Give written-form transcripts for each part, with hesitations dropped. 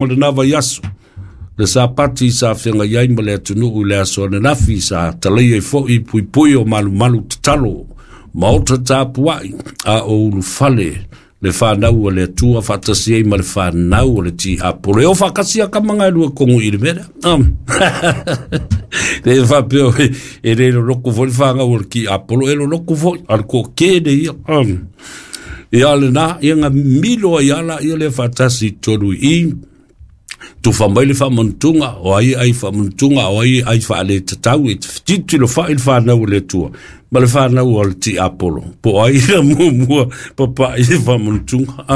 O lena vaiaso, le Sapati sa feagai ai ma le atunuu i le aso ananafi sa talaia ai foi puipui o malumalu tatalo, maota tapuai, a o ulufale le fanau a le Atua faatasi ai ma le fanau o le tiapolo. E o faakasi a kama gae lua kogo i le mea lea. Le faapea e le loloko foi le fanau o le tiapolo, e loloko foi, a le toatele ia. Ia lena, ia na milo ai ala ia le faatasi i totonu i i, tufa mai le faamanutuga o ai ai faamanutuga o ai ai faaletatau e tilotilo fai le fanau o le Atua ma le fanau o le tiapolo po o ai na muamua papa'i le faamanutuga.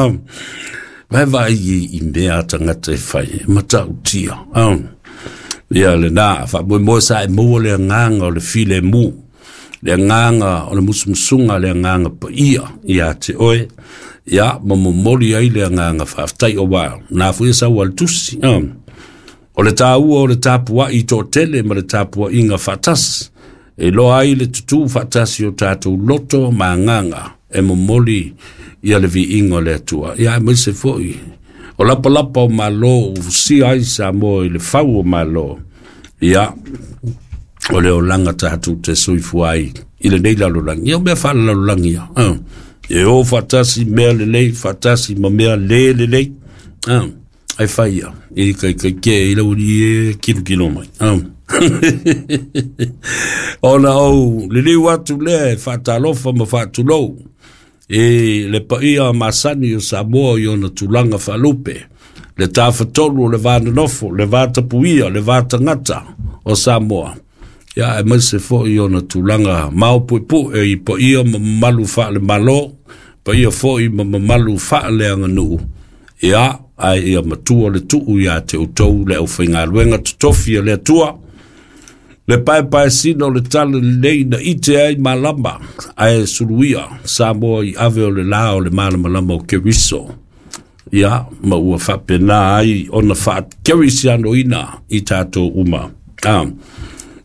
Vaevaai i mea a tagata e fai e matautia. Ia lena faamoemoe sa e maua le agaga o le filemu, le agaga o le musumusuga, le agaga paia ia te oe, ia ma momoli ai le agaga faafetai o wa na foi e sau a le tusi. O le taua o le tapuai toatele ma le tapuaiga faatasi e iloa ai le tutū faatasi o tatou loto ma agaga e momoli ia le viiga o le Atua. Ia aemaise foi o lapalapa o malo ua fusia ai Samoa i le fau o malo. Ia, o le olaga tatou te soifua ai i lenei lalolagi. Ia o mea faalelalolagi ia. E o faatasi mea lelei, faatasi ma mea le lelei. Ai fai ia, i kai kai ke i lau i e kilokilo mai. Ona ou liliu atu lea e faatalofa ma faatulou i le paia masani o Samoa i ona tulaga faalupe, le tafatolu o le va nonofo, le va tapuia, le va tagata o Samoa. Ia aemaise foi ona tulaga maopuepue i paia ma mamalu faale-Malo, paia foi ma mamalu faaleaganuu. Ia, ae ia matua le tuu ia te outou le aufaigaluega totofi a le Atua, le paepaesina o le tala lelei na ite ai malama ae suluia Samoa i ave o le la o le malamalama o Keriso. Ia, ma ua faapena ai ona faakerisianoina i tatou uma.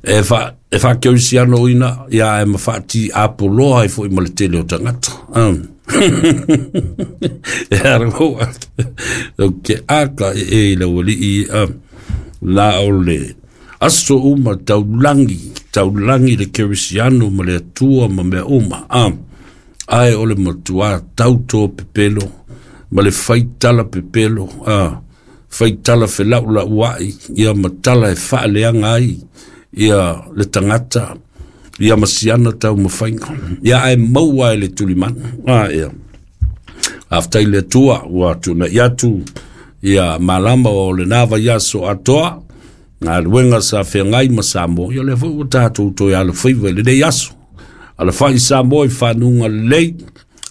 E faakerisianoina, ia e ma faatiapoloa ai foi ma le tele o tagata. E ara o ke aka e i lau alii la o le aso uma taulangi, taulangi le kerisiano ma le Atua ma mea uma. Ae o le matua tauto pepelo ma le faitala pepelo, faitala felaulau ai, ia ma tala e faaleaga ai ia le tagata, ia ma siana taumafaiga. Ia ae maua e le tulimanu. Ia. Faafetai i le Atua ua tuunai atu ia malama o lena vaiaso atoa, galuega sa feagai ma Samoa, ia lea foi ua tatou toe alofaiva i lenei aso. Alafai Samoa i fanuga lelei,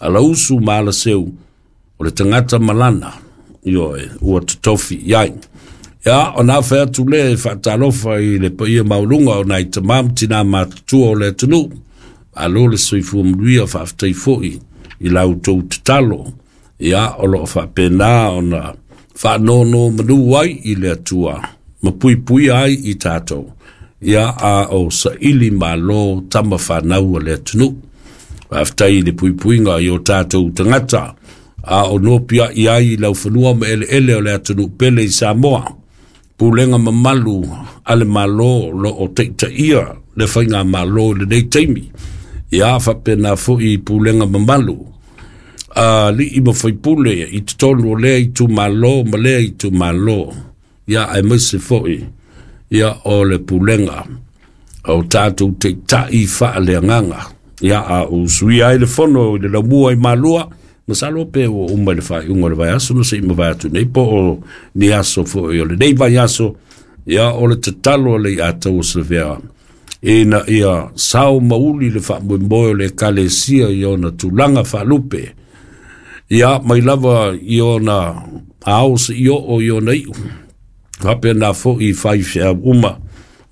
alausu ma alaseu, o le tagata malana, ioe, ua totofi i ai. Ia, ona afe atu lea e faatalofa i le paia maualuga o nai tama ma tina matutua o le atunuu. Malo le soifua manuia, faafetai foi i la outou tatalo. Ia, o loo faapena ona faanonomanu ai i le Atua ma puipuia ai i tatou. Ia, a o saili malo tama fanau a le atunuu. Faafetai i le puipuiga i o tatou tagata, a o nopia i ai i laufanua ma eleele o le atunuu pele i Samoa. Pulega mamalu a le Malo lo o taitaia le faiga malo i lenei taimi. Ia, faapena foi i pulega mamalu a alii ma faipule i totonu o lea itumalo ma lea itumalo. Ia, aemaise foi ia o le pulega o tatou taitai faaleagaga. Ia, a usuia ai le fono i le laumua i Malua, masalo pe ua uma i le faaiuga o le vaiaso na se i mavae atu nei po o ni aso foi o lenei vaiaso. Ia, o le tatalo a le Iataua Savea ina ia sao mauli le faamoemoe o le Ekalesia i ona tulaga faalupe. Ia, mai lava i ona ao seia oo i ona iu. Faapena foi i faifeau uma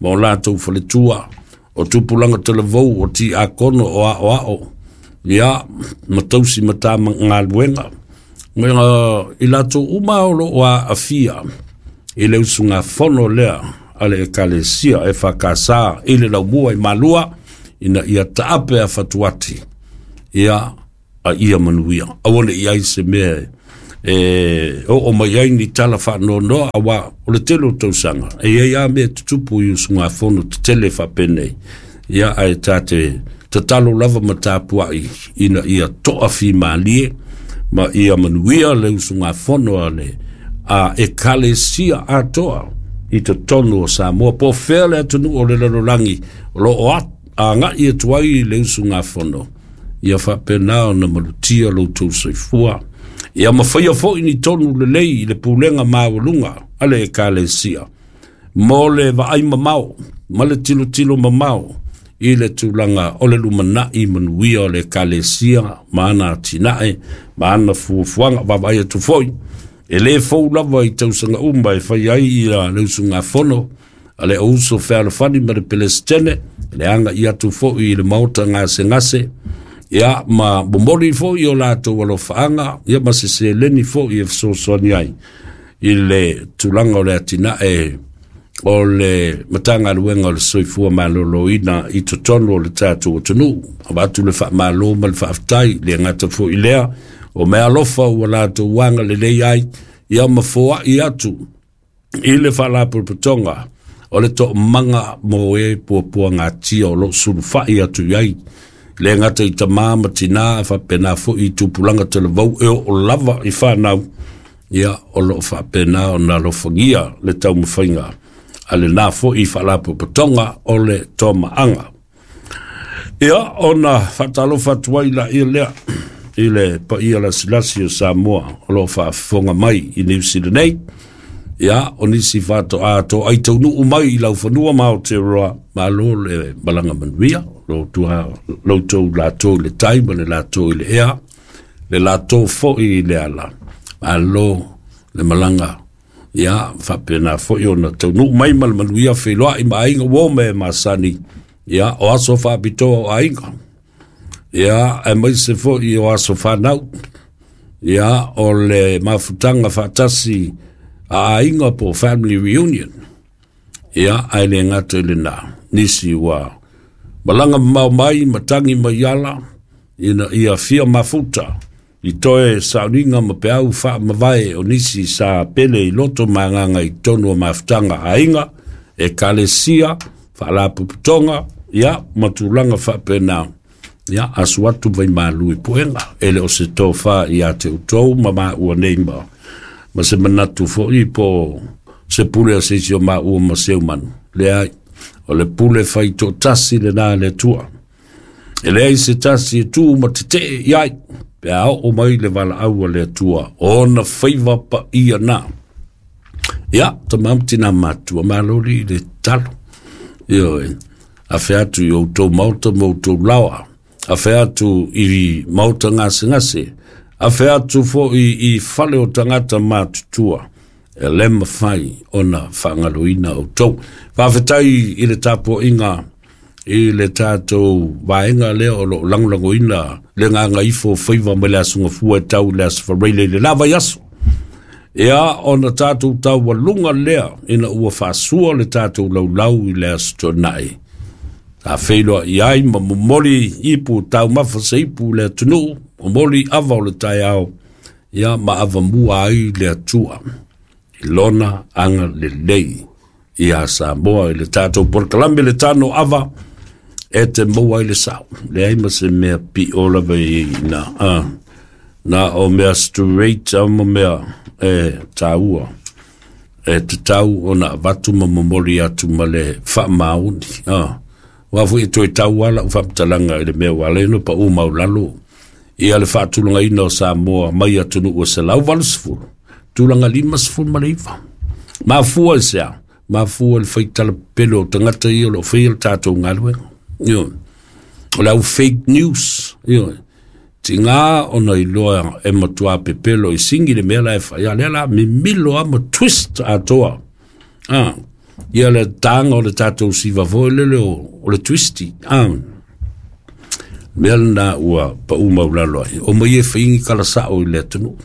ma o latou faletua, o tupulaga talavou, o tiakono, o aoao, ia, ma tausi ma tamagaluega. Ma i latou uma o loo aafia i le usugafono lea a le Ekalesia EFKS i le laumua i Malua, ina ia taape a fatuati, ia, a ia manuia. Aua ne i ai se mea E oo mai ai ni tala faanoanoa auā o le tele o tausaga e i ai lava mea e tutupu i usugafono tetele faapenei, ia ae ta te tatalo lava ma tapuai ina ia toafimalie ma ia manuia le usugafono a le a Ekalesia atoa i totonu o Samoa, po o fea le atunuu o le lalolagi o lo o agai atu ai le usugafono, ia faapena ona malutia lo outou soifua, ia mafaia foi ni tonu lelei i le pulega maualuga a le Ekalesia mo le vaai mamao ma le tilotilo mamao i le tulaga o le lumanai manuia o le Ekalesia ma ana atinae ma ana fuafuaga. Vaavaai atu foi, e lē fou lava i tausaga uma e fai ai ia le usugafono a le Auuso Fealofani ma le Pelesitene, le aga'i atu foi i le maota gasegase, ia ma momoli foi o latou alofaaga, ia ma se seleni foi e fesoasoani ai i le tulaga o le atinae o le Matagaluega o le Soifua Maloloina i totonu o le tatou atunuu. Avatu le faamalo ma le faafetai, le gata foi lea o meaalofa ua latou agalelei ai, ia ma foai atu i le faalapotopotoga o le toomaga mo e puapuagatia o lo o sulufai atu i ai, le gata i tamā ma tinā, faapena foi i tupulaga talavou e oo lava i fanau, ia o lo o faapena ona alofagia le taumafaiga a lena foi faalapotopotoga o le Tomaaga. Ia, ona faatalofa atu ai laia lea i le paia lasilasi o Samoa o lo o faafofoga mai i Niu Sila nei. Ia, o nisi faatoa toai taunuu mai i laufanua ma Aotearoa, malo le malaga manuia, lo tou latou i le tai ma le latou i le ea, le latou foi i le ala, malo le malaga. Ia, faapena foi ona taunuu mai ma le manuia, feiloai ma aiga uo me masani, ia, o aso faapitoa o aiga, ia, aemaise foi o aso fanau, ia, o le mafutaga faatasi a aiga po o family reunion, ia, ae le gata i lena, nisi ua malaga mamao mai ma tagi mai ala, ina ia fia mafuta i toe sauniga ma peau faamavae o nisi sa pele i loto ma agaga i totonu o mafutaga a aiga, ekalesia, faalapotopotoga, ia, ma tulaga faapena. Ia, asu atu vaimalu i puega, e le o se tofa ia te outou ma maua nei ma se manatu foi po se pule a se isi o maua ma seu manu. Leai, o le pule fai toatasi lena a le Atua. E leai se tasi e tu ma tetee i ai, pe a oo mai le valaau a le Atua, ona faiva paia na. Ia, tama ma tina matua, malo li le tatalo. Ioe, afe atu i outou maota ma outou laoa, afe atu i maota gasegase, afe atu foi i fale o tagata matutua, e le mafai ona faagaloina outou. Faafetai i le tapuaiga i le tatou vaega lea o lo o lagolagoina le gagaifo o faiva mai le Aso Gafua e tau i le Aso Faraile i le la vaiaso. Ia, ona tatou taualuga lea ina ua faasua le tatou laulau i le Aso Toonai. Sa feiloai ai ma momoli ipu taumafa se ipu i le atunuu, momoli ava o le taeao, ia ma avamua ai le Atua i lona agalelei ia Samoa i le tatou polokalame le tano ava e te maua ai le sao. Leai ma se mea pio lava i na, na o mea straight a ma mea e tāua e tatau ona avatu ma momoli atu ma le faamaoni. Ua foi e toe tau ala u faamatalaga i le mea ua ala ai ona pau maulalo ia le faatulagaina o Samoa mai atunuu e 180, tulaga 59. Mafua i se a? Mafua i le faitala pepelo o tagata ia o lo o faia le tatou galuega. Ioe. O le au fake news. Ioe. Tiga ona iloa e matua pepelo i sigi le mea la e fai, a lea la mimilo a ma twist atoa. Ia le taga o le tatou siva foi lele o le twisty. Mea lena ua pau maulalo ai. O mai e faigi kala sao i le atunuu.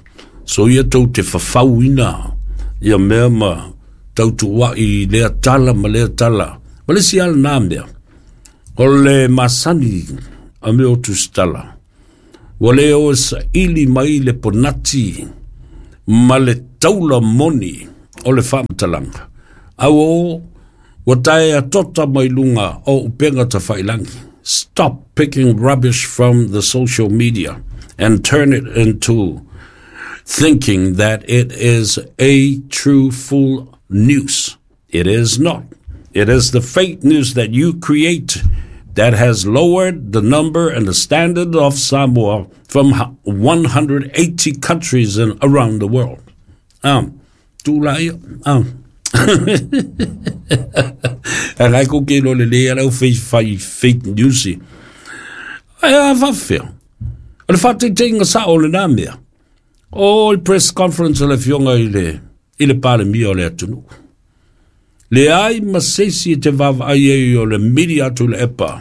So ia tou te fafauina ia mea ma tautuuai i lea tala ma lea tala. Ma le isi lava lena mea, o le masani a mea o tusitala, ua le o e saili mai le ponati. ma le taula moni o le faamatalaga. Auo, ua taea tota mai luga o upega tafailagi. Stop picking rubbish from the social media and turn it into thinking that it is a true full news. It is not. It is the fake news that you create that has lowered the number and the standard of Samoa from 180 countries around the world. Tū la ia. A ko ke lo le le ala fei fai fake news. Ai a faafefea. O le faataitaiga sao o lenā mea. O le press conference a le afioga i le Palemia o le atunuu. Leai ma se isi e te vaavaai ai o le mili atu i le epa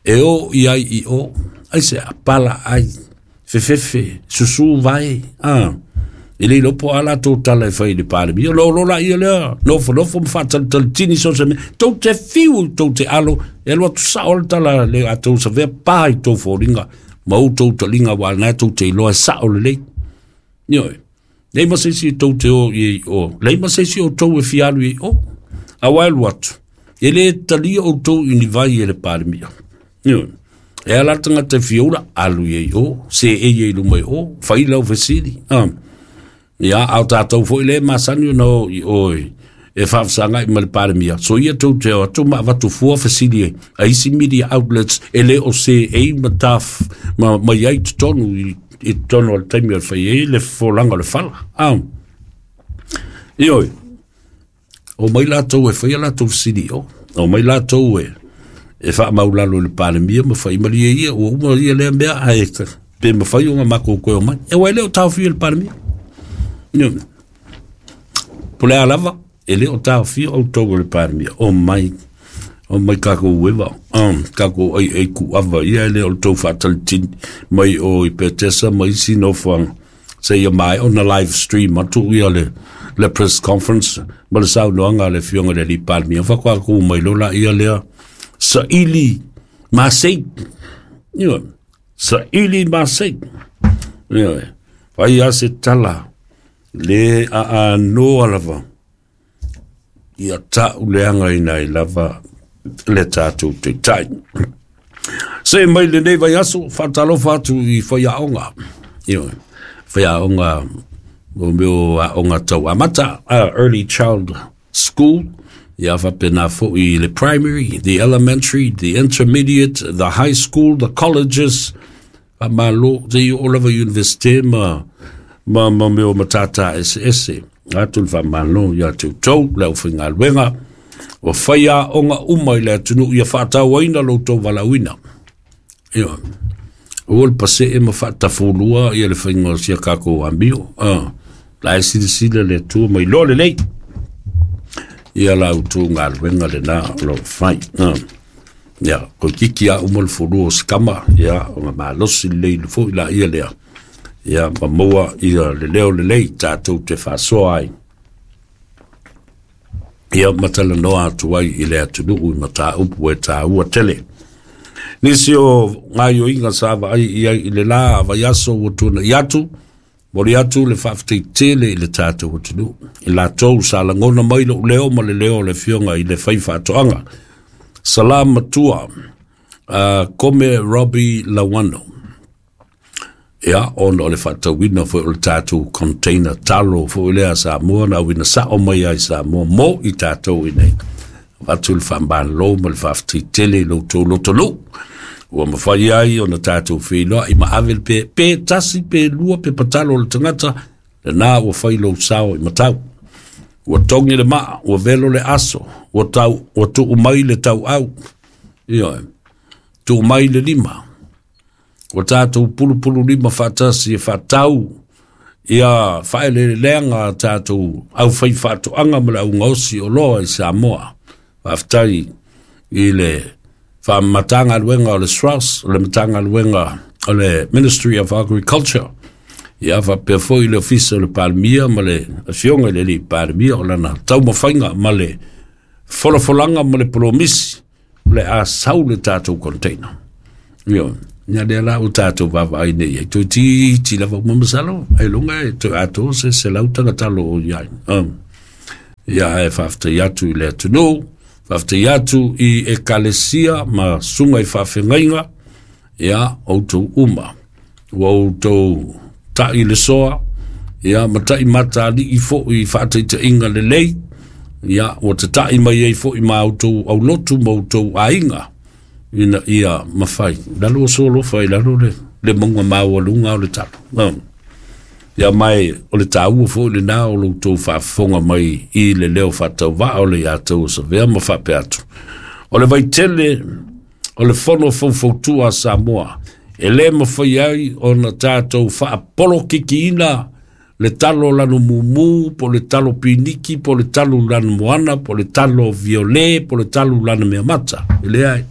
e o i ai i o. Aisea? Pala ai, fefefe, susū vae. E le iloa po o a latou tala e fai i le Palemia. Lo lo la ia lea, nofonofo ma faatalitalitini so se mea. Tou te fiu, tou te alo, e alu atu sao le tala le a tou savea pa i tou foliga ma outou taliga aua lena tou te iloa e sao lelei. Ioe. Leai ma se isi tou te o i ai o. Leai ma se isi o tou e fia alu i ai o. Aua e alu atu, e le talia outou i ni vai e le Palemia. Ioe. E ala le tagata e fia ula, alu i ai o, seei ai i luma i o, fai lau fesili. Ia, a o tatou foi lea e masani ona o i o e faafesagai ma le Palemia, soia tou te o atu ma avatu fua fesili a isi media outlets e le o seei ma taf ma i ai totonu i totonu o le taimi o le fai ai le folaga o le fala. Ioe, omai latou e faia latou fesili i o, omai latou e faamaulalo i le Palemia ma fai malie ia, ua uma ia lea mea, ae pe mafai ona matou toe omai. E aua e le o taofia e le Palemia. Ioe. Po le a lava, e le o taofia outou e le Palemia, omai, omai tatou ueva, tatou aiai kuava ia e le o le tou faatalitini mai o i Petesa ma isi nofoaga seia maea ona live stream atu ia le press conference ma le saunoaga a le afioga i le alii Palemia. Faatoa tuu mai loa laia lea saili masei. Ioe, saili masei. Ioe, fai lava se tala le aanoa lava ia tauleagaina ai lava le tatou taitai. Se mai lenei vaiaso, faatalofa atu i faiaoga. Ioe, faiaoga o mea o aoga tau amata, early child school, ia faapena foi le primary, the elementary, the intermediate, the high school, the colleges, faamalo, seia oo lava i universite ma mea o matata eseese. Atu le faamalo ia te outou, le aufaigaluega, o faiaoga uma i le atunuu ia faatauaina lo outou valaauina. Ioe. Aua le pasee ma faatafulua ia le faiga o sia tatou amio. La e silasila le Atua ma iloa lelei ia la outou galuega lena o lo o fai. Ia, toeitiiti lava uma le fulua o se tama, ia, ona malosi lelei foi laia lea, ia, ma maua ia le leo lelei tatou te faasoa ai. Ia ma talanoa atu ai i le atunuu i mataupu e taua tele. Nisi o gaoioiga sa vaai i ai i le la vaiaso ua tuanai atu, momoli atu le faafetai tele i le tatou atunuu. I latou sa lagona mai lou leo ma le leo o le afioga i le faifaatoaga. Salam matua, Kome Robbie Lawano. Ia, ona o le faatauina foi o le tatou container talo foi lea a Samoa na auina sao mai ai Samoa mo i tatou i nei. Avatu le faamalo ma le faafetai tele i lo outou lotonuu. Ua mafai ai ona tatou feiloai ma ave le pe tasi pe lua pe patalo o le tagata, lena ua fai lou sao i matau. Ua togi le maa, ua velo le aso, ua tuu mai le tauau. Ioe, tuu mai le lima. Ua tatou pulupulu lima faatasi e faatau ia faaeleeleaga a tatou aufaifaatoaga ma le augaosi oloa i Samoa. Faafetai i le Matagaluega o le SROS, o le Matagaluega o le Ministry of Agriculture, ia faapea foi le Ofisa o le Palemia ma le afioga i le alii Palemia o lana taumafaiga ma le folafolaga ma le polomisi o le a sau le tatou container. Ioe. Ia lea la ua tatou vaavaai nei i ai, toeitiiti lava uma masalo, ailoga e toe atoa se 100 tagata o i ai. Ia ae faafetai atu i le atunuu, faafetai atu i ekalesia ma susuga i faafeagaiga, ia outou uma. Ua outou ta'i le soa, ia ma ta'i mataalii foi i faataitaiga lelei, ia ua tata'i mai ai foi ma outou aulotu ma outou aiga, ina ia mafai. Lalo o solofa i lalo le mauga maualuga o le talo. Ia mai o le tāua foi lena o lo outou faafofoga mai i le leo faatauvaa o le ia tou Savea ma faapea atu. O le vaitele o le fono faufautua a Samoa, e lē mafai ai ona tatou faapolokikiina le talo lanu mumu, po le talo piniki, po le talo lanu moana, po le talo viole, po le talo lanu meamata. E leai.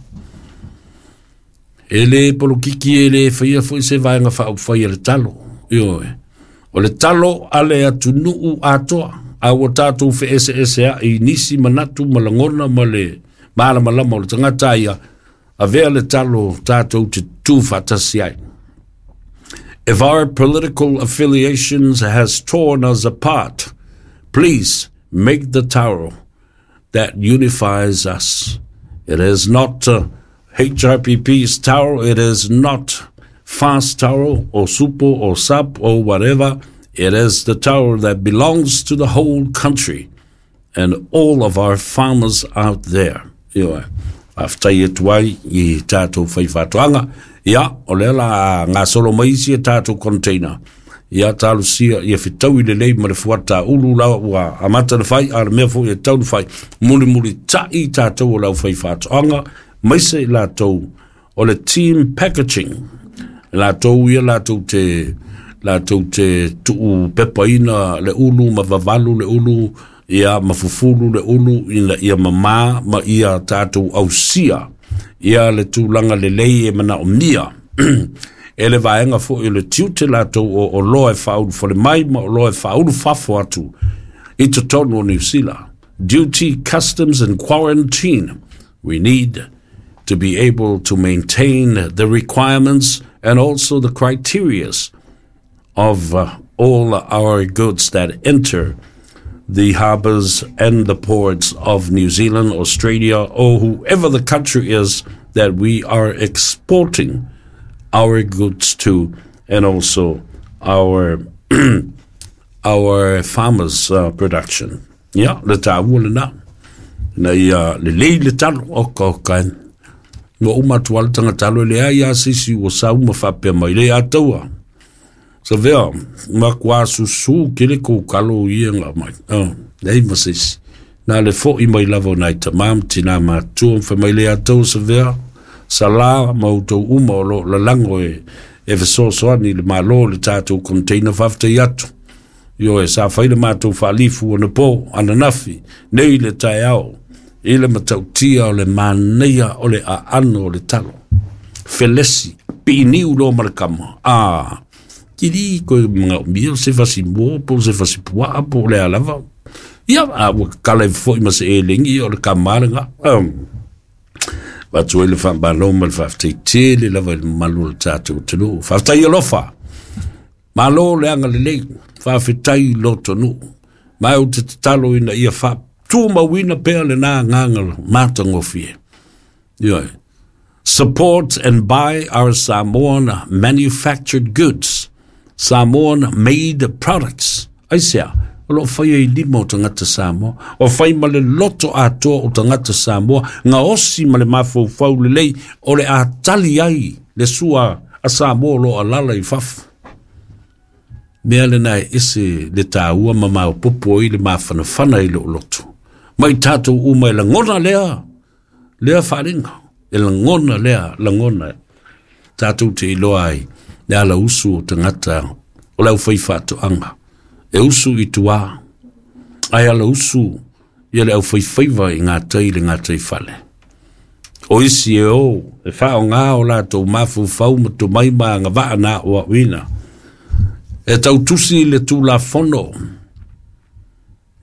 E lē polokiki e lē faia foi se vaega faaupufai a le talo. Ioe. O le talo a le atunuu atoa, a ua tatou feeseesea'i i nisi manatu ma lagona ma le malamalama o le tagata ia, avea le talo tatou te tutū faatasi ai. If our political affiliations has torn us apart, please make the taro that unifies us. It is not HRPP's taro, it is not fast taro or supo or sap or whatever. It is the taro that belongs to the whole country and all of our farmers out there. Ioe. Faafetai atu ai i tatou faifaatoaga. Ia, o lea la gasolo mai isi e tatou container. Ia, talosia ia fetaui lelei ma le fuata ulu la ua amata na fai, a o le mea foi e tau na fai, mulimulita'i tatou o le aufaifaatoaga, maise i latou o le team packaging. Latou ia latou te tuu pepaina le ulu ma vavalu le ulu, ia ma fufulu le ulu ina ia mamā ma ia tatou ausia ia le tulaga lelei e manaomia e le vaega foi o le tiute latou o oloa e faaulufale mai ma oloa e faaulufafo atu i totonu o Niu Sila. Duty, customs and quarantine. We need to be able to maintain the requirements and also the criterias of all our goods that enter the harbours and the ports of New Zealand, Australia, or whoever the country is that we are exporting our goods to, and also our our farmers' production. Ia, le tāua lena. Na ia lelei le talo, oka oka e. Ua uma atu lava le tagatalo e leai a se isi ua sau ma faapea mai le ataua. Savea, makuā susū kele kou kalo ia nga mai. Oh, leai ma se isi. Na le fo'i mai lava o nai tamā ma tinā matutua ma fai mai le ataua Savea, Salā ma outou uma o lo o lalago e e fesoasoani i le Malo i le tatou container faafetai atu. Ioe, sa fai le matou faalifu anapo, ananafi, nei le taeao, i le matautia o le manaia o le aano o le talo. Felesi, piiniu loa ma le kama, a, kili koe manaomia se fasi moa po o se fasi puaa po o le a lava. Ia, a ua kala ifo foi ma se elegi, o le kama lava lena. Um, avatu ai le faamalo ma le faafetai tele lava i le mamalu o le tatou atunuu. Faafetai alofa. Malo le agalelei, faafetai lotonuu. Ma ou te tatalo ina ia faatumauina pea lena agaga matagofie. Ioe. Support and buy our Samoan manufactured goods, Samoan made products. Aisea? O lo o faia i lima o tagata Samoa, o fai ma le loto atoa o tagata Samoa, gaosi ma le mafaufau lelei o le a tali ai le sua a Samoa o lo o alaala i fafo. Mea lena e ese le taua ma maopoopo ai le mafanafana i lou loto. Mai tatou uma e lagona lea, lea faaaliga, e lagona lea lagona tatou te iloa ai le ala usu o tagata o le aufaifaatoaga. E usu i tua, ae ala usu ia le aufaifaiva i gatai i le gataifale. O isi e o e faaaoga o latou mafaufau ma tomai ma agavaa na aoaoina e tautusi le Tulafono,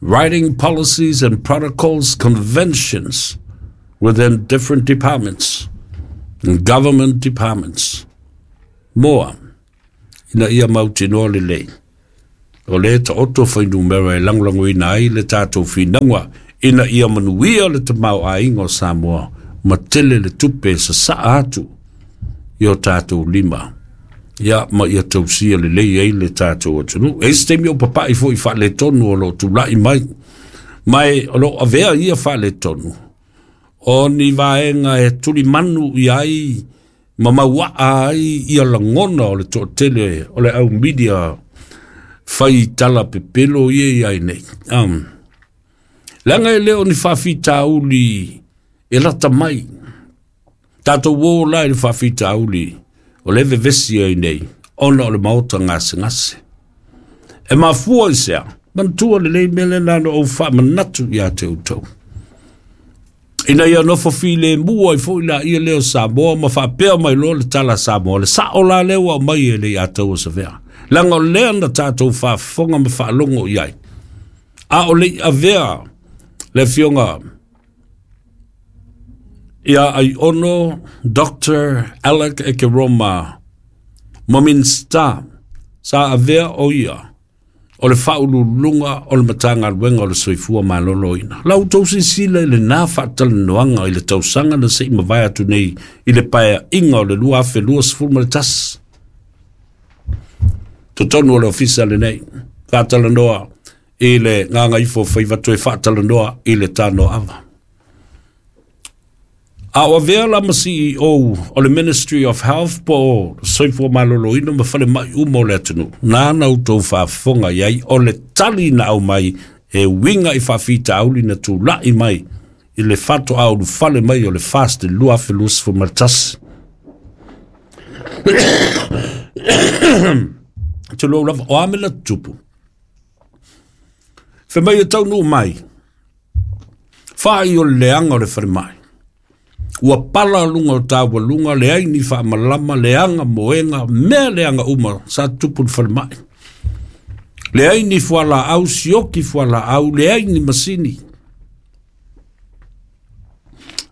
writing policies and protocols, conventions within different departments and government departments. Moa, ina ia mautinoa lelei, o lea e taoto fuainumera e lagolagoina ai le tatou finauga ina ia manuia le tamaoaiga o Samoa ma tele le tupe e sasaa atu i o tatou lima, ia ma ia tausia lelei ai le tatou atunuu. E i ai se taimi o papai foi i faaletonu o lo o tulai mai, ma e o lo o avea ia faaletonu o ni vaega e tulimanu i ai ma mauaa ai ia lagona o le toatele o le au media fai tala pepelo ia i ai nei. Leaga e le o ni faafitauli e lata mai. Tatou o la i le faafitauli o le vevesi ai nei ona o le maota gasegase. E mafua i sea, manatua lelei mea lena na ou faamanatu ia te outou. Ina ia nofo filemu ai foi laia lea o Samoa ma faapea mai loa le tala a Samoa, le sao la lea ua aumai e le ia Tauasavea. Leaga o lea na tatou faafofoga ma faalogo i ai. A o le i avea le afioga ia Aiono Dr. Alec Ekeroma ma Minista sa avea o ia o le faauluuluga o le Matagaluega o le Soifua Maloloina. La outou silasila i lena faatalanoaga i le tausaga na se i mavae atu nei i le paeaiga o le 2021. Totonu o le ofisa lenei, faatalanoa i le gagaifo faiva toe faatalanoa i le tanoaava. A o avea la ma CEO o le Ministry of Health po o Soifua Maloloina ma falemai uma o le atunuu, nāna outou faafofoga i ai o le tali na aumai e uiga i faafitauli na tulai mai i le faatoa ulufale mai o le FAST i le 2021. Tulou lava, o a mea na tutupu? Fai mai e taunuu mai, whai o le leanga o le falemai. Ua pala luga o taualuga, leai ni faamalama, leaga moega, mea leaga uma sa tupu i le falemai. Leai ni fualaau, sioki fualaau, leai ni masini.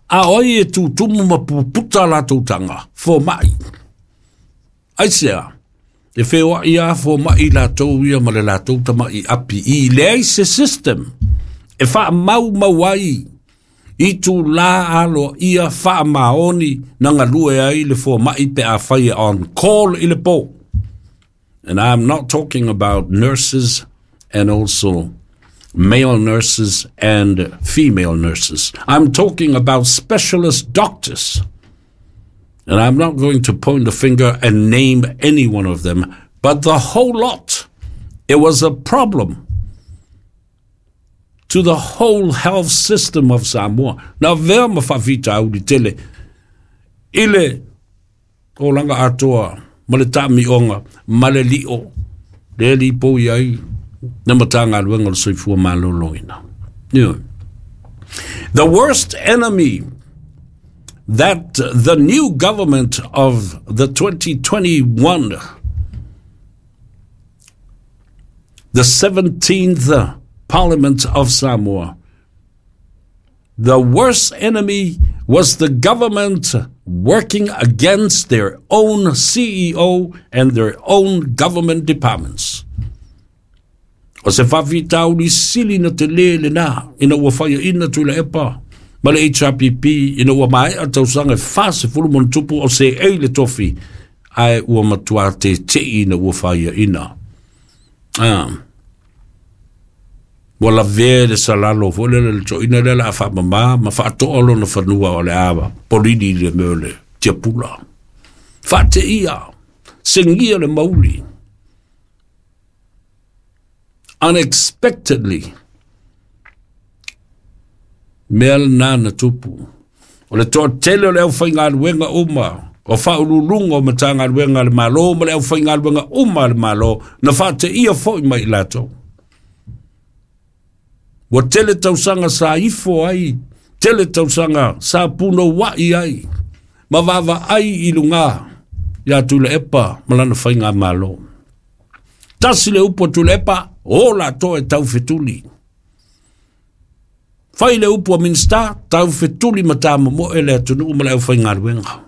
A o ai e tutumu ma puputa latou taga, fomai. Aisea, e feoai lava fomai latou ia ma le latou tamai api i leai se system e faamaumau ai itulā aloaia faamaoni na galue ai le fomai pe afai e on call i le po. And I'm not talking about nurses and also male nurses and female nurses. I'm talking about specialist doctors. And I'm not going to point the finger and name any one of them, but the whole lot. It was a problem to the whole health system of Samoa. Na avea ma faafitauli tele i le tolaga atoa ma le taamioga ma le lio le lipoi ai le Matagaluega o le Soifua Maloloina. Yeah. The worst enemy that the new government of the 2021, the 17th Parliament of Samoa, the worst enemy was the government working against their own CEO and their own government departments. O se faafitauli sili na telē lenā ina ua faiaina Tuilaepa ma le HRPP ina ua maea tausaga e 40 ma ona tupu o seei le tofi ae ua matuā teteʻi ina ua faiaina. Ah. Ua lavea le salalo foi lele le toeaina lea o le a faamamā ma faatoa lona fanua o le a polili i le mea o le tiapula. Faateia, segia le mauli. Unexpectedly, mea lenā na tupu. O le toatele o le aufaigaluega uma, o faauluuluga o Matagaluega a le Malo ma le aufaigaluega uma a le Malo, na faateia foi mai i latou. Ua tele tausaga sa ifo ai, tele tausaga sa punouai ai, ma vaavaai i luga ia Tuilaepa ma lana faigamalo. Tasi le upu a Tuilaepa, o latou e taufetuli. Fai le upu a Minista, taufetuli ma tamomoe le atunuu ma le aufaigaluega.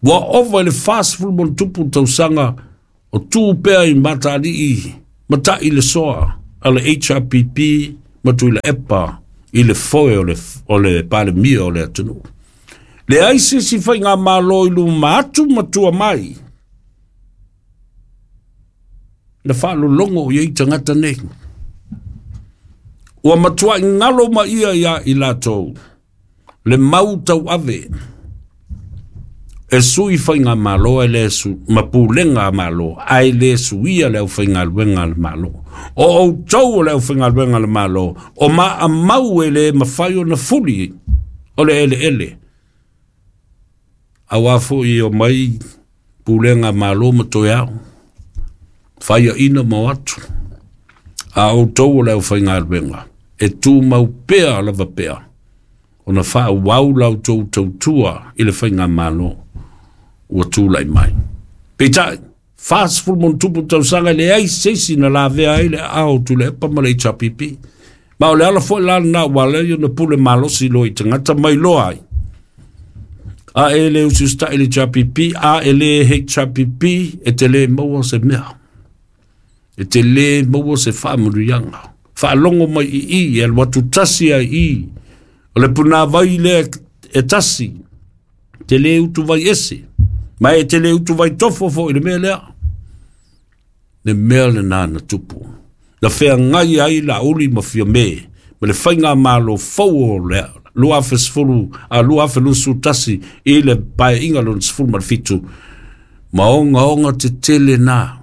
Ua ova i le 40+ tausaga o tu pea i Mataalii ma ta'i le soa a le HRPP ma Tuilaepa i le foe o le Palemia o le atunuu. Leai se isi faigamalo i luma atu ma tua mai na faalologo i ai tagata nei. Ua matuai galo ma ia ia i latou le mau tauave e sui faigamalo e le su, ma pulega a Malo, ae le suia le aufaigaluega a le Malo. O outou o le aufaigaluega a le Malo, o maamau e le mafai ona fuli o le eleele. Auā foi o mai pulega a Malo ma toe ao, faiaina ma o atu. A outou o le aufaigaluega, e tumau pea lava pea, ona faaauau la outou tautua i le faigamalo ua tulai mai. Peitai, 40+ tausaga e leai se isi na lavea ai le aao o Tuilaepa ma le HRPP. Ma o le ala foi la lena ua ala ai ona pule malosi loa i tagata mai loa ai. A e le usiusitai i le HRPP, a e le HRPP, e te le maua se mea. E te le maua se faamanuiaga. Faalogo mai i i, e alu atu tasi ai i. O le punāvai lea e tasi, te le utuvai ese, ma e te le utuvai tofo foi i le mea lea. Le mea lena na tupu. Na feagai ai Laauli ma Fiame ma le faigamalo fou o le 2010 a 2021 i le Paeaiga lona 17 ma ogaoga tetele na.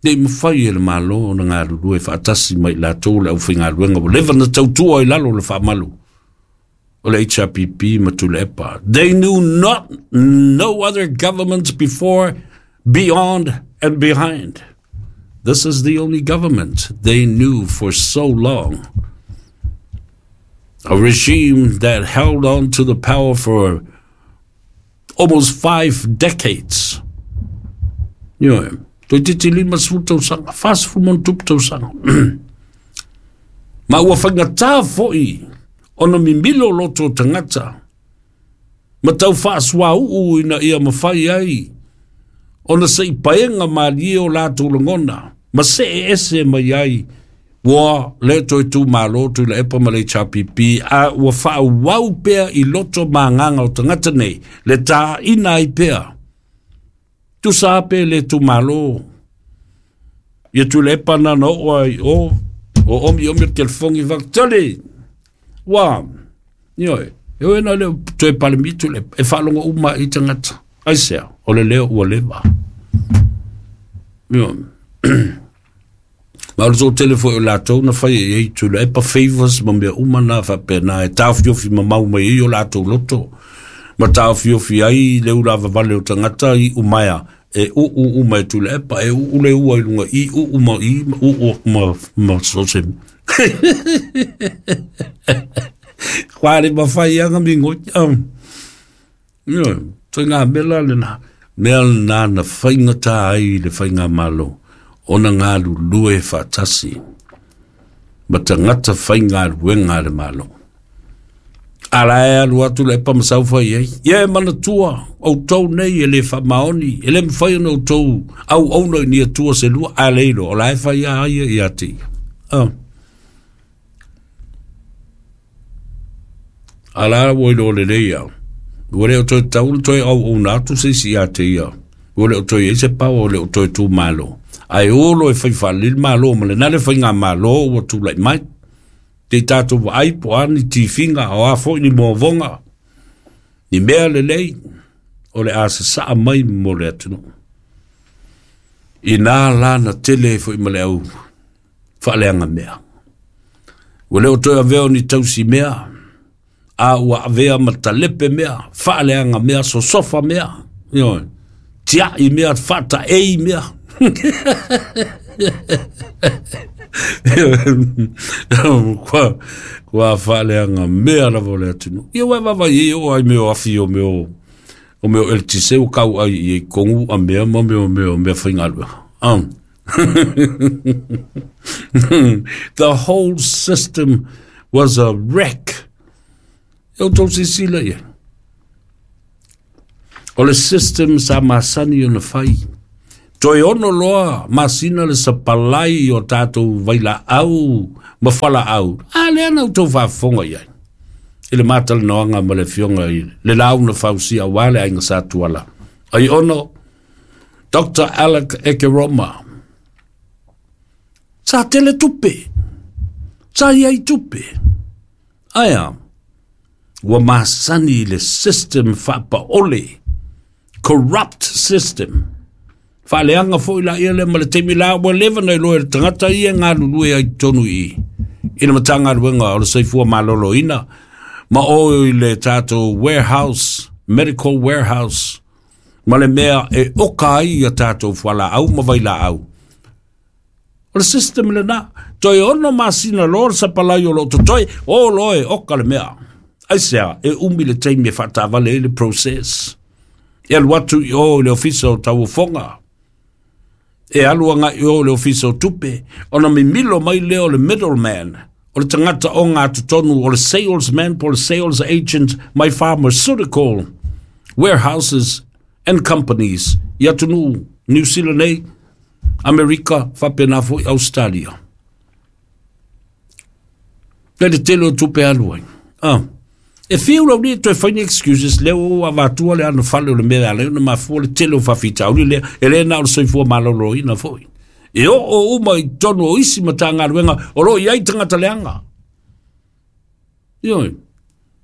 Nei mafai e le Malo ona galulue faatasi ma i latou le aufaigaluega ua leva na tautua i lalo o le faamalu o le HRPP ma Tuilaepa. They knew not no other governments before, beyond and behind. This is the only government they knew for so long. A regime that held on to the power for almost 5 decades. Ioe, toeitiiti 50 tausaga, 40+ tausaga. Ma ua faigata foi ona mimilo loto o tagata ma tau faasuauu ina ia mafai ai ona se i paega malie o latou lagona ma see ese mai ai ua le toe tumalo Tuilaepa ma le HRPP, a ua faaauau pea i loto ma agaga o tagata nei le tāina ai pea. Tusa lava pe le tumalo ia Tuilaepa na na oo ai o o omi omi o le telefogi fakatali ua ioe e oe na le toe Palemia Tuilaepa e faalogo uma i tagata aisea o le leo ua leva. Ioe. Ma o le toatele foi o latou na fai i ai Tuilaepa favors ma mea uma na faapena e taofiofi mamau mai ai o latou loto ma taofiofi ai le ulavavale o tagata i umaea e uu uma e Tuilaepa e uu le ua i luga i uu ma i ma uu ma ma so se Kwa le mawhai anga mingo. Toi ngā mea lena. Mea lena na whaingata ai le whaingamalo. Ona galulue faatasi ma tagata faigaluega a le Malo. A la e alu atu le epa ma saufai ai. Ia e manatua, outou nei e le faamaoni, e le mafai ona outou auauna i ni atua se lua, a le iloa, o la e fai a ia ia te ia. A la ua iloa lelei au. Ua le o toe tatau ona toe auauna atu se isi ia te ia. Ua le o toe i ai se power, ua le o toe tumalo. Ae o loa e fai faalelei le Malo ma lena le faigamalo ua tulai mai. Te i tatou vaai po o a ni tifiga, o a foi ni moavoga, ni mea lelei o le a sasaa mai mo le atunuu. Ina la na tele ai foi ma le au faaleaga mea. Ua le o toe avea o ni tausi mea, a ua avea ma talepe mea, faaleaga mea, sosofa mea, ioe, tiai mea, faataei mea. Kua faaleaga mea lava o le atunuu. Ia ua e vaavaai ai oo ai mea o afi o mea o o mea o eletise ua kau ai i ai kongu a mea ma mea o mea o mea faigaluega. The whole system was a wreck. E outou silasila i ai. O le system sa masani ona fai. Toe 6 loa masina le sapalai o tātou vailaau ma fualaau. A lea na outou faafofoga i ai i le matalanoaga ma le afioga i le launa fausia aua le aiga Sa Tuala. Ai ono, Dr. Alec Ekeroma. Sa tele tupe. Sa iai tupe. Aia, ua masani i le system faapaole. Corrupt system. Faaleaga foi la ia le ma le taimi la ua leva na iloa e le tagata ia e galulue ai totonu i i le Matagaluega o le Soifua Maloloina ma o i le tātou warehouse, medical warehouse, ma le mea e oka ai ia tātou fualaau ma vailaau. O le system lena, toe 6 masina loa le sapalai o loo totoe, o loa e oka le mea. Aisea, e umi le taimi e faatavale ai le process. E alu atu i o i le ofisa o tauofoga. E alu agai i o i le ofisa o tupe, ona mimilo mai lea o le middleman, o le tagata o ngā totonu, o le salesman po o le sales agent mai pharmaceutical warehouses and companies i atunuu New Zealand nei, Amerika, faapena foi Australia. Le le tele o tupe alu ai. Ah. E fiu lau ni toe fai ni excuses lea ua avatua le anofale o le mea e ala ai ona mafua le tele o faafitauli lea, e le na o le soifua maloloina foi. E oo uma i totonu o isi Matagaluega o lo o i ai tagata leaga. Ioe.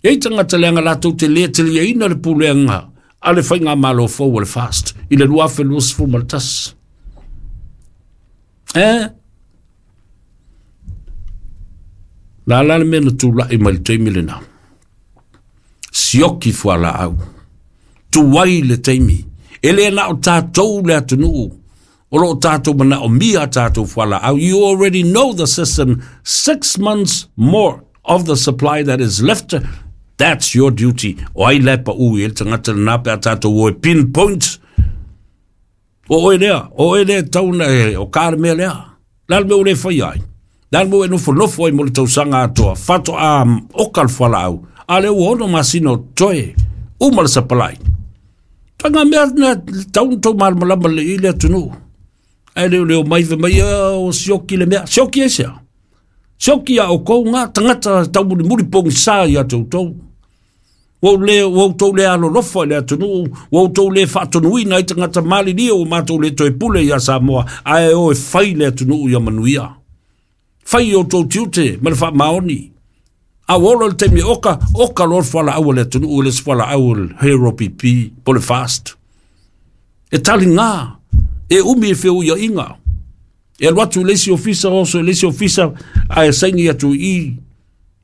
E i ai tagata leaga latou te le taliaina le pulega a le faigamalo fou a le FAST i le 2021. Eh? La la le mea na tula'i mai le taimi lena. Sioki fualaau. Tuai le taimi. E le na o tātou le atunuu. O loo tātou manaomia tātou fualaau. You already know the system. 6 months more of the supply that is left. That's your duty. O ai la e paʻu i ai le tagata lena pe a tātou o e pinpoint. O oe lea, o oe lea e tatau ona e, o ka le mea lea. Le a le mea ua le faia ai? Le a le mea ua e nofonofo ai mo le tausaga atoa, faatoa oka le fualaau, a lea ua 6 masina o totoe, uma le sapalai. Ituaiga mea na tatau ona tou malamalama lelei i ai le atunuu. Ae le o le omai fai mai, o sioki le mea. Sioki aisea? Sioki a outou ngā tagata taumulimuli pogisa ia te outou. Ua ou le, ua outou le alolofa i le atunuu, ua outou le faatonuina ai tagata malilie ua matou le toe pule iā Samoa, ae o e fai le atunuu ia manuia. Fai i outou tiute ma le faamaoni. A ua ola le taimi e oka, oka loa le fualaau a le atunuu, e le se fualaau o le Hero PP po o le Fast. E taligā, e umi e feuiaiga. E alu atu i le isi ofisa, oso i le isi ofisa, ae saini atu i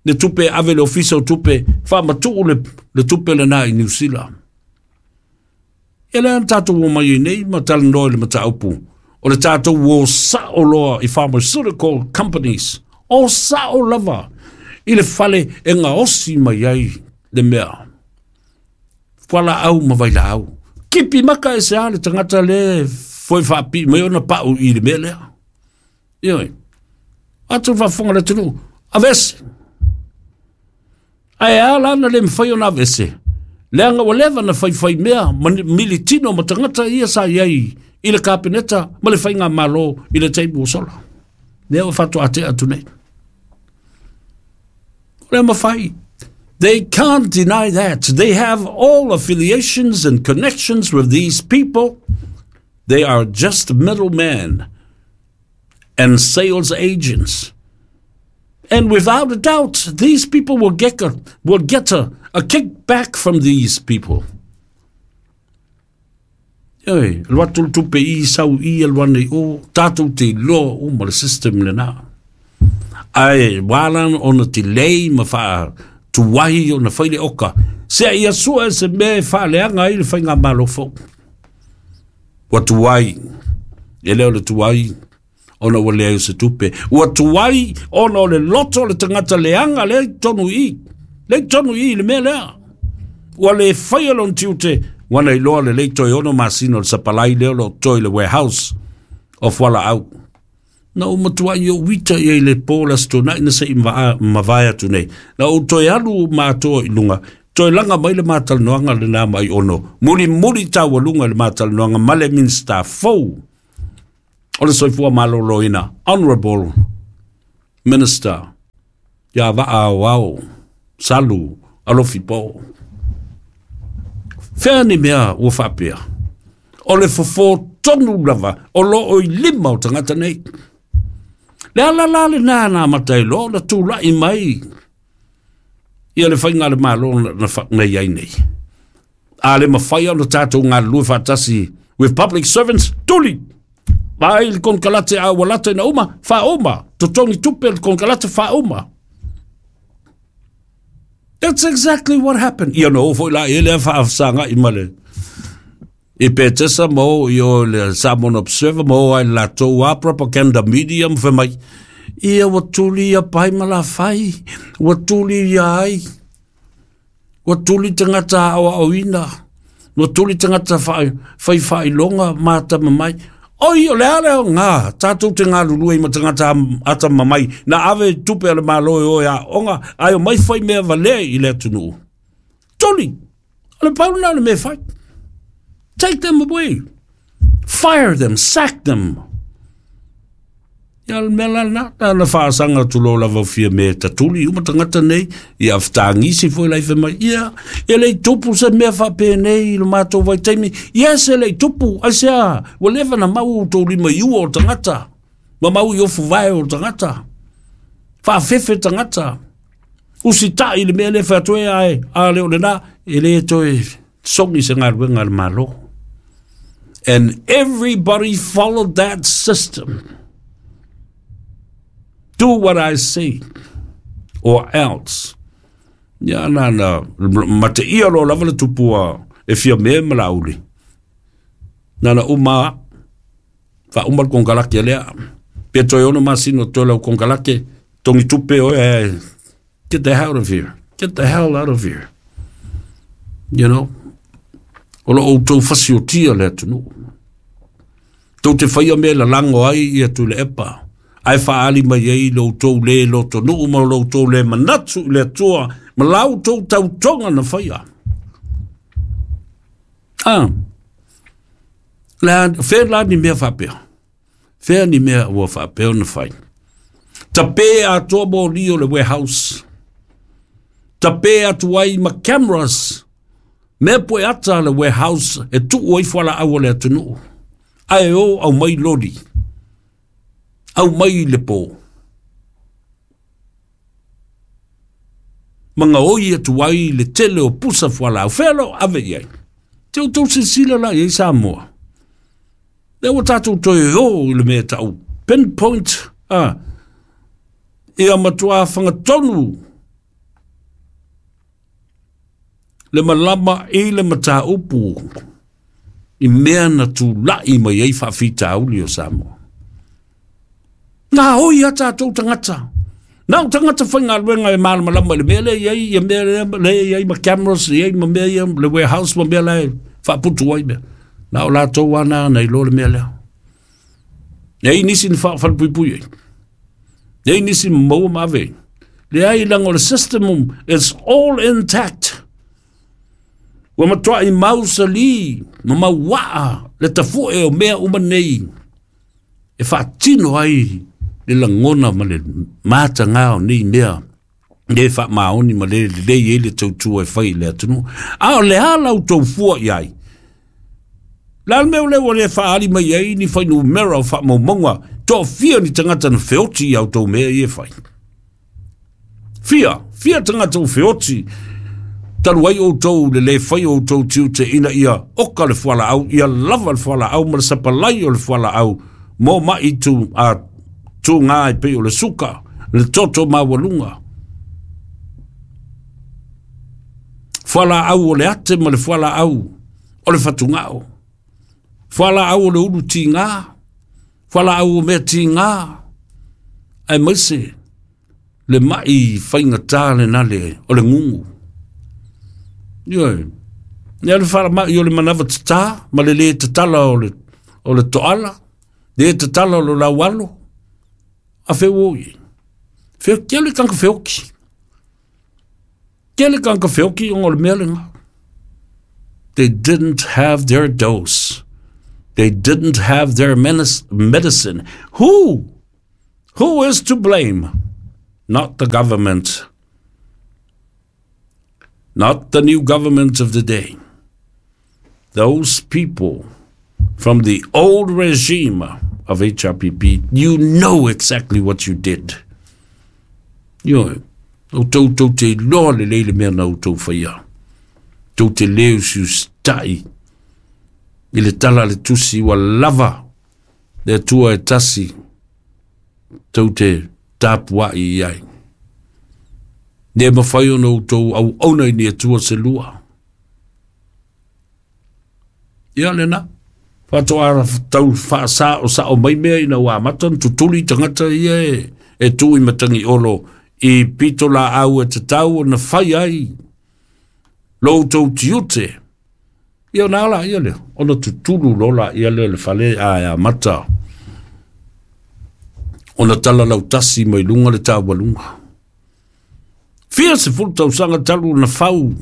le tupe e ave i le ofisa o tupe, faamatuu le, le tupe lena i Niu Sila. Ia lea na tātou omai ai nei ma talanoa i le mataupu o le tātou o sa'o loa i pharmaceutical companies, o sa'o lava i le fale e gaosi mai ai le mea fualaau ma vailaau. Kipi maka e se a le tagata le foe faapii mai ona pa'u i le mea lea. Ioe. Atu faafofoga le atunuu, aveese. Ae a la na le mafai ona aveese? Leaga ua leva na faifai mea ma militino ma tagata ia sa i ai i le kapeneta ma le faigamalo i le taimi ua sola. Lea ua faatoa tea atu nei. O le mafai. They can't deny that. They have all affiliations and connections with these people. They are just middlemen and sales agents. And without a doubt, these people will get a, will get a, a kickback from these people. Oi, alu atu le tupe i sau i alu ane i o, tātou te iloa uma le system lena. Ae wā la ona delay ma wha tuahi ona fai le oka. Sea ia sua e se mea e whaaleanga ai le faigamalo fou. Ua tuai, e le o le tuai, ona ua leai o se tupe. Ua tuai ona o le loto o le tagata leaga lea i totonu i i. Lea i totonu i i le mea lea. Ua le faia lona tiute, ua na iloa lelei toe 6 masina o le sapalai lea o lo o totoe i le warehouse o fualaau. Na ou matuai ou ita i ai i le po o le Aso Toonai na se i mavae atu nei. Na ou toe alu ma atoa i luga, Toe laga mai le matalanoaga lenā mai ono mulimuli taualuga i le matalanoaga ma le Minisita fou o le Soifua Maloloina, Honorable Minister ia Vaa Aoao Salu Alofi Po. Fea ni mea ua faapea? O le fofo tonu lava o loo i lima o tagata nei. Le ala la lenā na amata ai loa ona tulai mai ia le faiga a le Malo na i ai nei. A le mafai ona tatou galulue faatasi with public servants, tuli! Vaai le konekarate a ua lata ina uma, faauma, totogi tupe le konekarate faauma. That's exactly what happened. Ia na o foi la ia lea faasagai ma le i Petesa ma o i o le Samoan Observer ma o ai le latou a propaganda media ma fai mai, ia ua tuli ia pai ma la fai, ua tuli ia ai, ua tuli tagata aoaoina, ua tuli tagata fai faailoga ma atamamai. Oi, o le a le aoga tatou te galulue ai ma tagata atamamai na ave tupe a le Malo e o e aoga ae omai fai mea valea i le atunuu. Tuli! O le pau lena o le mea e fai. Take them away. Fire them, sack them. Ia o le mea la lena, na ona faasaga atu loa lava o fia mea e tatuli uma tagata nei, ia fetagisi foi la i fai mai, ia, e le i tupu se mea faapenei i lo matou vaitaimi. Yes, e le i tupu, aisea, ua leva ona mau outou lima i ua o tagata, ma mau i ofu vae o tagata, faafefe tagata, usitai i le mea lea e fai atu e ae, a le o lena, e le toe sogi se galuega a le Malo. And everybody followed that system. Do what I say or else. Ia na na mateia loa lava le tupua e Fiame ma Laauli. Na na uma faauma le konekarate lea. Pe toe 6 masina o toe lau konekarate, togi tupe oe ae get the hell out of here. Get the hell out of here. You know? O lo outou fasiotia le atunuu. Tou te faia mea e lalago ai ia Tuilaepa, ae faaali mai ai lo outou le lotonuu ma lo outou le manatu i le Atua ma la outou tautoga na faia. Ah, le, fea la ni mea faapea? Fea ni mea ua faapea ona fai? Tape atoa moli o le warehouse. Tape atu ai ma cameras. Mea poe ata le warehouse e tuu ai fualaau a le atunuu. Ae o aumai loli. Aumai le po. Ma gaoi atu ai le tele o pusa fualaau. Fea lo ave i ai. Te outou silasila la i ai Samoa. Lea ua tatou toe o i le mea e tau pinpoint, a, ia matuā fagatonu le malama i le mataupu i mea na tula'i mai ai faafitauli o Samoa. Na oi a tatou tagata. Na o tagata faigaluega e malamalama i le mea lea i ai, ia mea lea, lea i ai ma cameras, i ai ma mea ia, le warehouse ma mea la e faaputu ai mea. Na o latou lava na na iloa le mea lea. E ai nisi na faalepuipui ai. E ai nisi na maua ma ave ai. Leai, leaga o le system, it's all intact. Ua matuai mausali ma mauaa le tafu'e o mea uma nei e faatino ai le lagona ma le matagā o nei mea le faamaoni ma le lelei ai le tautua e fai i le atunuu. A o le a la outou fua i ai? Le a le mea o lea ua le faaali mai ai ni fuainumera o faamaumauga toafia ni tagata na feoti i a outou mea ia e fai? Fia, fia tagata ua feoti talu ai outou le le fai o outou tiute ina ia oka le fualaau, ia lava le fualaau ma le sapalai o le fualaau mo ma'i tu, a, tūgā e pei o le suka, le toto maualuga. Fualaau o le ate ma le fualaau o le fatugao. Fualaau o le ulu tīgā, fualaau o mea tīgā, aemaise le ma'i faigata lena le o le gugu. Ioe. Ia le falamai o le manava tatā ma le lē tatala o le, o le toala, lē tatala o le laualo, a feu o i ai. Feo, ke le tanga feoki. Tele tagata feoti ona o le mea lena. They didn't have their dose. They didn't have their medicine. Who? Who is to blame? Not the government. Not the new government of the day. Those people from the old regime of HRPP, you know exactly what you did. Ioe, outou tou te iloa lelei le mea na outou faia. Tou te le usiusitai i le tala a le tusi ua lava le Atua e tasi tou te tapuai i ai. Le mafai ona outou auauna i ni Atua se lua. Ia lena. Faatoa tau faasa'osa'o mai mea ina ua amata ona tutuli tagata ia e tu i Matagiolo i pitolaau e tatau ona fai ai lo outou tiute. Ia ona ala ia lea, ona tutulu loa laia lea o le fale ae amata ona talalautasi mai luga le taualuga. Fia 10 tausaga talu ona fau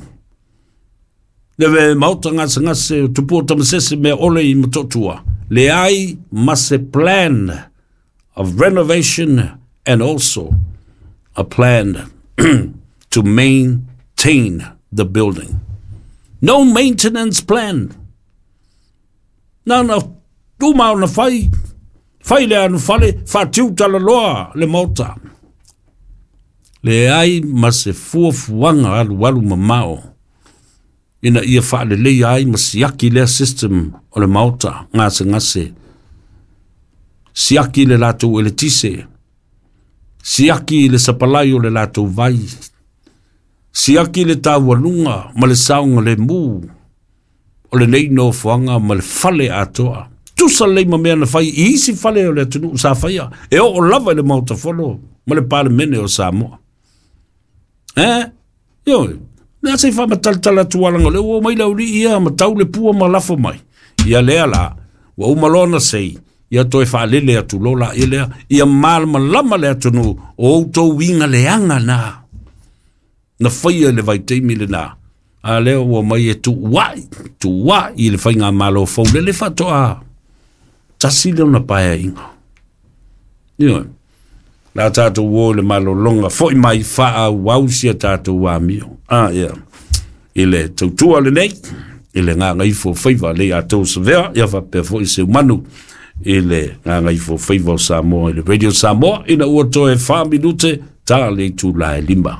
le maota gasegase o Tupua Tamasese mea ole i Motootua, leai ma se plan of renovation and also a plan to maintain the building. No maintenance plan. Na na uma ona fai, fai le anufale, faatiu talaloa le maota. Leai ma se fuafuaga alualu mamao ina ia faaleleia ai ma siaki lea system o le maota gasegase. Siaki le latou eletise, siaki le sapalai o le latou vai, siaki le taualuga ma le saogalemu o lenei nofoaga ma le fale atoa. Tusa lelei ma mea na fai i isi fale o le atunuu sa faia, e oo lava i le Maota Fono ma le Palemene o Samoa. Eh? Ioe, le a se i faamatalatala atu alaga o lea ua omai le aualii ia ma tau le pua ma lafo mai. Ia lea la, ua uma loa ona sei, ia toe faalele atu loa laia lea, ia malamalama le atunuu o outou uiga leaga na na faia i le vaitaimi lena, a lea ua omai e tuuai, tuuai i le faigamalo fou lele faatoa tasi lea ona paeaiga. Ioe. La tatou o i le malologa foi mai faaauau si a tatou amio. Ah, yeah. I le tautua lenei, i le gagaifo faiva lei a tou savea, ia faapea foi Seumanu i le gagaifo faiva o Samoa i le Radio Samoa, ina ua toe 4 minute ta le itula e 5.